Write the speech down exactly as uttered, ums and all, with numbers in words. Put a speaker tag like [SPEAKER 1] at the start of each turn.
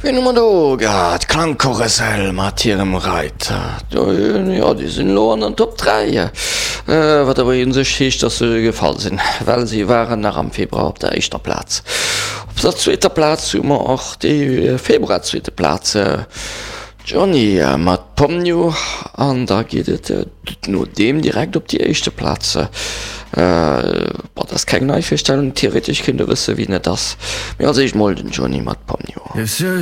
[SPEAKER 1] Wien hu mer do gehat? Klangkarussell mat hirem Reiter. Jo, déi sinn elo an den Top dräi, wat awer u sech heescht, dass se gefall sinn, well si waren nach am Februar op der éischter Plaz. Op der zweeter Plaz hu mer och déi Februar-zweete Plaz, Johnny mat Pomnio. An da geet et no deem direkt op déi éischte Plaz. Bon, dat ass keng nei Virstellung, theoretesch kéint e wësse wien et ass, mee als éischt mol den Johnny mat Pomnio.